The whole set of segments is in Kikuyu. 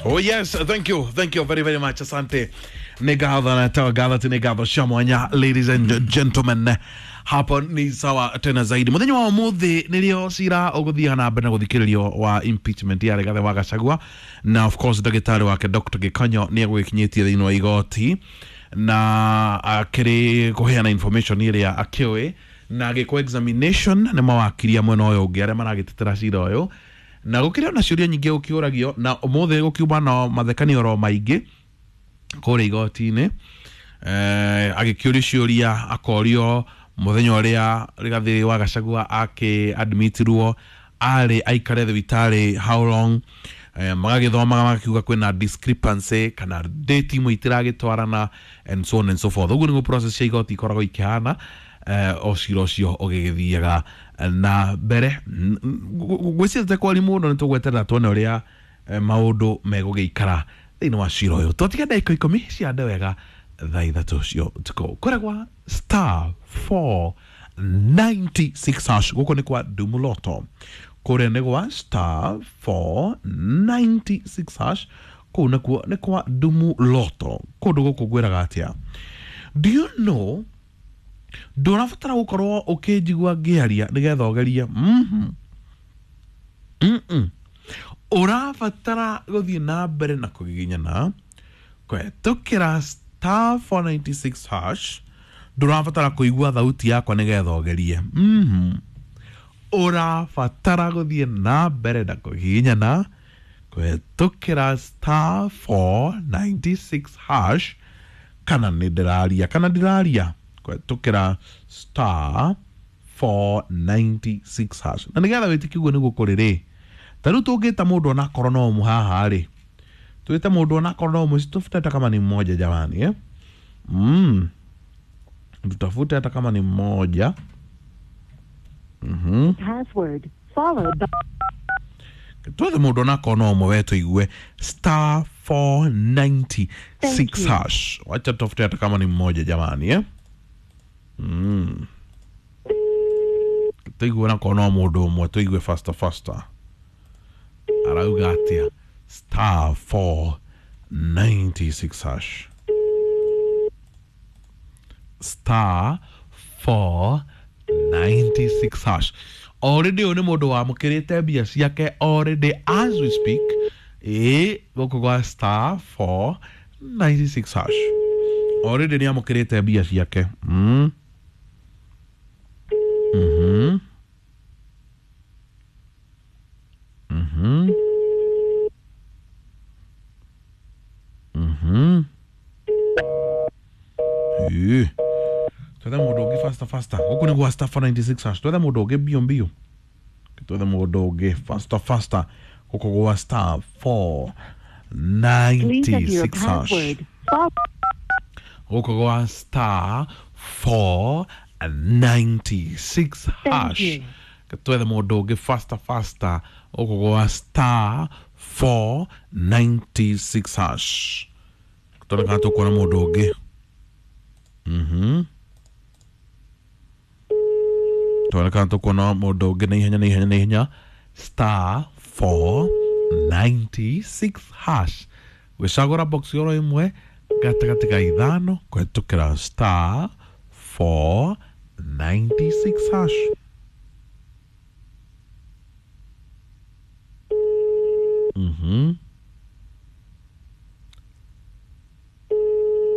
Oh yes, thank you very very much. Asante. Nĩ ngatho na tawa ngatho ti nĩ ngatho cia mwanya, ladies and gentlemen. Hapo ni sawa tena zaidi. Muthenya wa umuthi nirio cira uguthiaga na mbere na guthikiririo wa impeachment ya Rigathi wa Gachagua, na of course ndagĩtarĩ wake Dr. Gikonyo nĩ egũgĩkinyĩtie thĩinĩ wa igoti na akĩrĩ kũheana information ĩrĩa akĩũĩ na agĩkwo examination nĩ mawakiri a mwena ũyũ ũngĩ arĩa maragĩtetera cira ũyũ, na gũkĩrĩ ona ciũria nyingĩ gũkĩũragio, na ũmũthĩ gũkiuma na mathekania oro maingĩ kũrĩa igoti-inĩ. Agĩkĩũrio ciũria, akorio mũthenya ũrĩa Rigathĩ wa Gachagua akĩ admitirwo arĩ aikare thibitarĩ how long. Magagĩthomaga magakiuga kwĩna discrepancy kana date imwe itiragĩtwarana and so on and so forth. Ũguo nĩguo process cia igoti ikoragwo ikĩhana, o cira ũcio ũgĩgĩthiaga na mbere. Gwĩciria kwari mũno nĩ tũgweterera tuone ũrĩa maũndũ megũgĩikara thĩinĩ wa cira ũyũ. Twatiga ndagĩka 10 cia wega thaa 3 cia ũtukũ kũrĩa star 496 hash. Gũkũ nĩ kwa Dumuloto, kũrĩa nĩ gwa star 496 hash, kũu nakuo nĩ kwa Dumuloto. Kũndũ gũkũ ngwĩraga atĩa? Do you know ndũrabatara gũkorwo ũkĩnjigua ngĩaria nĩgetha ũgerie? Ũrabatara gũthiĩ na mbere na kũgiginyana kũhetũkĩra star 496 hash. Ndũrabatara kũigua thauti yakwa nĩgetha ũgerie. Ũrabatara gũthiĩ na mbere na kũgiginyana kũhetũkĩra star 496 hash, kana nĩ ndĩraria kana ndiraria, kũhetũkĩra star 496 hash. Na nĩgetha wĩtĩkie ũguo nĩguo kũrĩ rĩ, ta rĩu tũngĩta mũndũ onakorwo no ũmwe haha rĩ, tuite mũndũ onakorwo no ũmwe, tutafute hata kama ni mmoja jamani, eh? Tutafute hata kama ni mmoja. Password followed by Twethe mũndũ onakorwo no ũmwe we tũigue star 496 Thank you. hash. Wacha tutafute hata kama ni mmoja jamani, eh? Tũigue onakorwo no mũndũ ũmwe, tũigue faster faster arauga atĩa. Star 496 hash, star 496 hash. Already ũyũ nĩ mũndũ wamũkĩrĩte mbia ciake already as we speak. Ĩ gũkũ gwa star 496 hash already nĩ amũkĩrĩte mbia ciake. Ĩ. Twethe mũndũ ũngĩ faster faster. Gũkũ nĩ gwa star 496 hash. Twethe mũndũ ũngĩ mbio mbio, twethe mũndũ ũngĩ faster faster gũkũ gwa star Please enter your 496 hash. Password. Followed Gũkũ gwa star 496 Thank hash. you. Twethe mũndũ ũngĩ faster faster gũkũ gwa star 496 hash. Tuone kana tũkuona mũndũ ũngĩ. Tuone kana tũkuona mũndũ ũngĩ na ihenya na ihenya na ihenya. Star 496 hash, gwĩcagũra box oro ĩmwe gatagatĩ ka ithano kũhetũkĩra star 496 hash.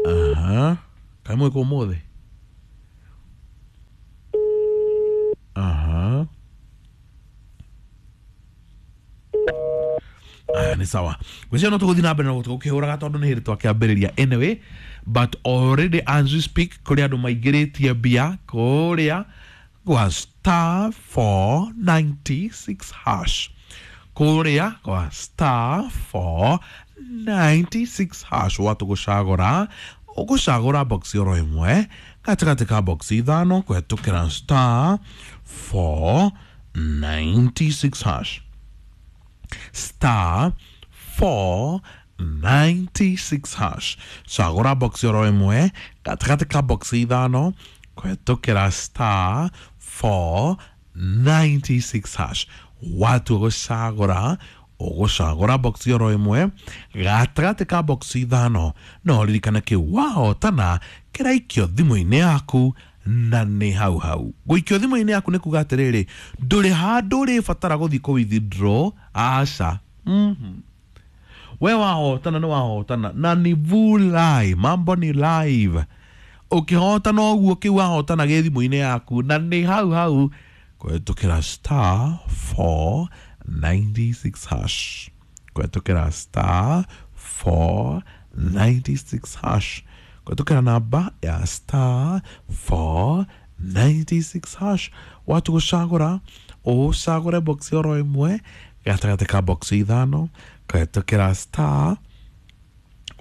Aha. Kaĩ mwĩkũ ũmũthĩ? Aha. Aya, nĩ sawa. Gwĩciria no tũgũthiĩ na mbere na gũkĩhũraga tondũ nĩ hĩndĩ twakĩambĩrĩria anyway, but already as we speak kũrĩ andũ maingĩrĩtie mbia kũrĩa gwa star 496 hash, kũrĩa gwa star 496 hash. Watu gũcagũra, ũgũcagũra box oro ĩmwe gatagatĩ ka box ithano kũhetũkĩra star 496 hash, star 496 hash. Cagũra box oro ĩmwe gatagatĩ ka box ithano kũhetũkĩra star 496 hash. Watua gũcagũra Ũgũcagũra box oro ĩmwe gatagatĩ ka box ithano, no ririkane kĩu wahotana kĩraikio thimũ-inĩ yaku na nĩ hau hau. Gũikio thimũ-inĩ yaku nĩ kuga atĩrĩrĩ, ndũrĩ handũ ũrĩbatara gũthiĩ kũ withdraw, aca. We wahotana nĩ wahotana na ni vulai, mambo ni live. Ũkĩhotana ũguo kĩu wahotana gĩ thimũ-inĩ yaku na nĩ hau hau kũhetũkĩra star 496 hash, kũhetũkĩra star 496 hash, kũhetũkĩra namba ya star 496 hash. Watu gũcagũra ũcagũre box oro ĩmwe gatagatĩ ka box ithano kũhetũkĩra star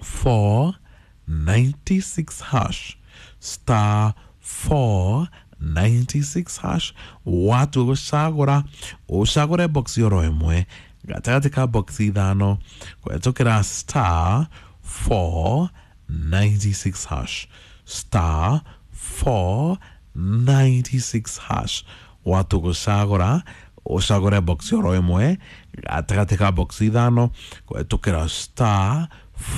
496 hash, star 496 hash. Watu gũcagũra ũcagũre box oro ĩmwe gatagatĩ ka box ithano kũhetũkĩra star 496 hash, star 496 hash. Watu gũcagũra ũcagũre box oro ĩmwe gatagatĩ ka box ithano kũhetũkĩra star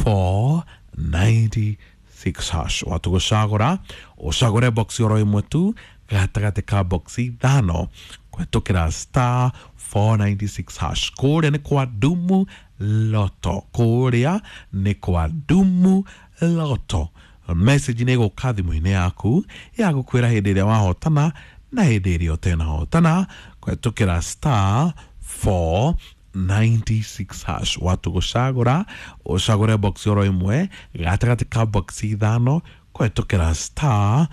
496 hash. Watu gũcagũra ũcagũre box oro ĩmwe tu gatagatĩ ka box ithano kũhetũkĩra star 496 hash. Kũrĩa nĩ kwa Dumu Lotto, kũrĩa nĩ kwa Dumu Lotto. Message nĩ ĩgũka thimũ-inĩ yaku ya gũkwĩra hĩndĩ ĩrĩa wahotana na hĩndĩ ĩrĩa ũtenahotana kũhetũkĩra star 496 hash. Watu gũcagũra ũcagũre box oro ĩmwe gatagatĩ ka box ithano kũhetũkĩra star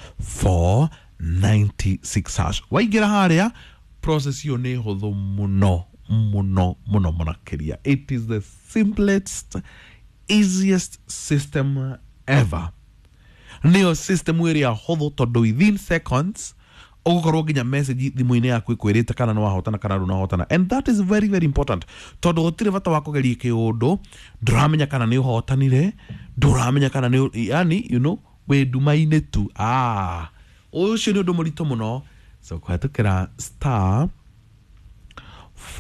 496 hash. Waingĩra harĩa process ĩyo nĩ hũthũ mũno mũno mũno mũno makĩria. It is the simplest, easiest system ever. Nĩyo system ĩrĩa hũthũ tondũ within seconds ũgũkorwo nginya message thimũ-inĩ yaku ĩkwĩrĩte kana nĩ wahotana kana ndũnahotana, and that is very very important tondũ gũtirĩ bata wa kũgeria kĩũndũ ndũramenya kana nĩ ũhotanire, ndũramenya kana nĩ, yani you know, wĩ nduma-inĩ tu. Ũcio nĩ ũndũ mũritũ mũno. So kũhetũkĩra star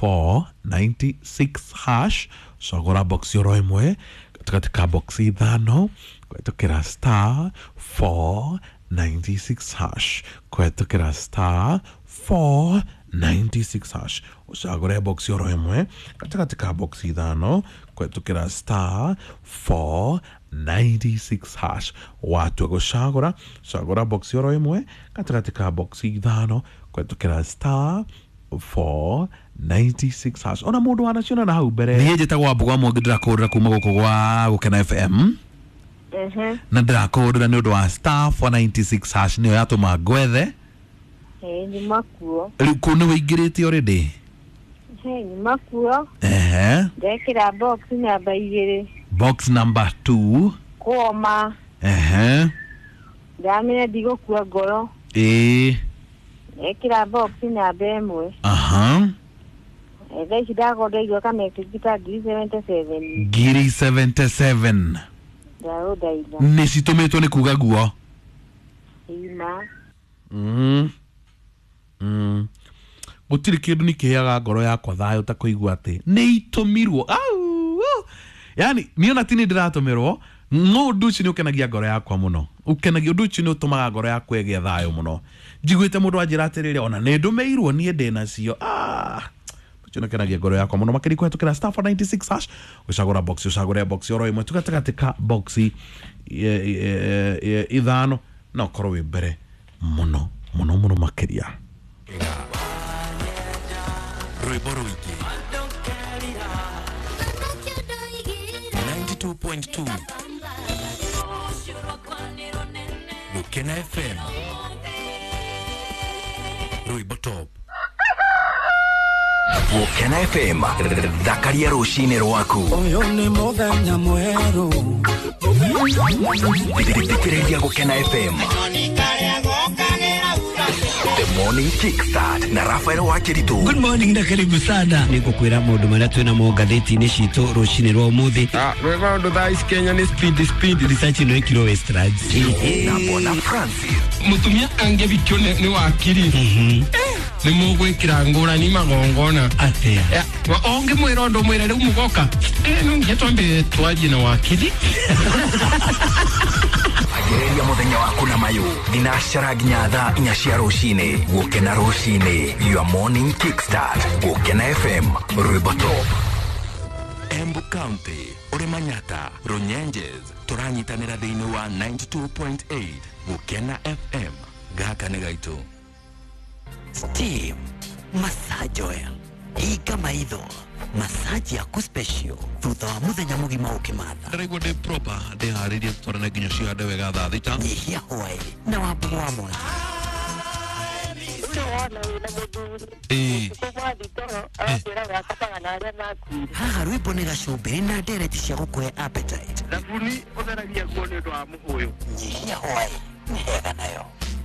496 hash, cagũra box oro ĩmwe gatagatĩ ka box ithano kũhetũkĩra star 496 hash, kũhetũkĩra star 496 hash. Ũcagũre box oro ĩmwe gatagatĩ ka box ithano kũhetũkĩra star 496 hash. Watua gũcagũra cagũra box oro ĩmwe gatagatĩ ka box ithano kũhetũkĩra star 496 hash. Ona mũndũ wanaciona na hau mbere. Niĩ njĩtagwo Wambũgũ Mwangi, ndĩrakũhũrĩra kuma gũkũ gwa Gũkena FM na ndĩrakũhũrĩra nĩ ũndũ wa star 496 hash nĩyo yatũma ngwethe. Nyuma kuo. Rĩu kũu nĩ wĩingĩrĩte already? Nyuma kuo. Ndekĩra box namba 2. Box number 2. Kũoma. Ndamenya ndigũkua ngoro. Ndekĩra box namba 1. Thaa ici ndakorwo ndaigua kamessage ta 77. Ngiri 77. Ndaũndaitha. Nĩ citũmĩtwo nĩ kuga guo? Ima. Gũtirĩ kĩndũ nĩkĩheaga ngoro yakwa thayũ ta kũigua atĩ nĩ itũmirwo. Au! Yani niĩ ona ti nĩ ndĩratũmĩrwo, no ũndũ ũcio nĩ ũkenagia ngoro yakwa mũno. Ũkenagia ũndũ ũcio nĩ ũtũmaga ngoro yakwa ĩgĩe thayũ mũno. Njiguĩte mũndũ anjĩra atĩrĩrĩ, ona nĩ ndũmĩirwo niĩ ndĩnacio. Ũcio nĩ ũkenagia ngoro yakwa mũno makĩria kũhetũkĩra star 496 hash. Ũcagũra box, ũcagũre box oro ĩmwe tu gatagatĩ ka box ithano na ũkorwo wĩ mbere mũno mũno mũno makĩria. Rwĩmbo rũingĩ 92.2 Gũkena FM, Rwĩmbo Top. Gũkena FM, thakaria rũcinĩ rwaku. Ũyũ nĩ mũthenya mwerũ. Thikĩrĩria Gũkena FM. The Morning Kickstart na Rafael Wakiritu. Good morning na karibu sana. Nĩngũkwĩra maũndũ marĩa twĩna mo ngathĩti-inĩ citũ rũcinĩ rwa ũmũthĩ. Rwĩmbo rũndũ thaa ici Kenya nĩ speed speed. Research ĩno ĩkirwo Westlands. Na Bona Francis. Mũtumia angĩbikio nĩ wakiri. Nĩ mũgwĩkĩra ngũrani magongona. Atia. Ũngĩmwĩra ũndũ mwĩre rĩu mũgoka. No nginya twambe twarie na wakiri. Ambĩrĩria mũthenya waku na mayũ thinacara nginya thaa 4 cia rũcinĩ. Gũkena rũcinĩ, your morning kickstart. Gũkena FM, rwĩmbo top. Embu County, ũrĩ Manyata, Runyenjes, tũranyitanĩra thĩinĩ wa 92.8 Gũkena FM. Gaka nĩ gaitũ. Steam massage oil, hinga maitho, massage yaku special thutha wa muthenya mugima ukimatha. Ndĩraigua ndĩ proper, ndĩharĩrie tũtwarane nginya cihande wega thaa 6. Nyihia hwaĩ na wambugu wa mwangi. Haha rwĩmbo nĩ gacumbĩrĩ na ndereti cia gũkũhe appetite. Thabuni ũtheragia nguo nĩ ũndũ wa mũhũyũ. Nyihia hwaĩ nĩ hega nayo.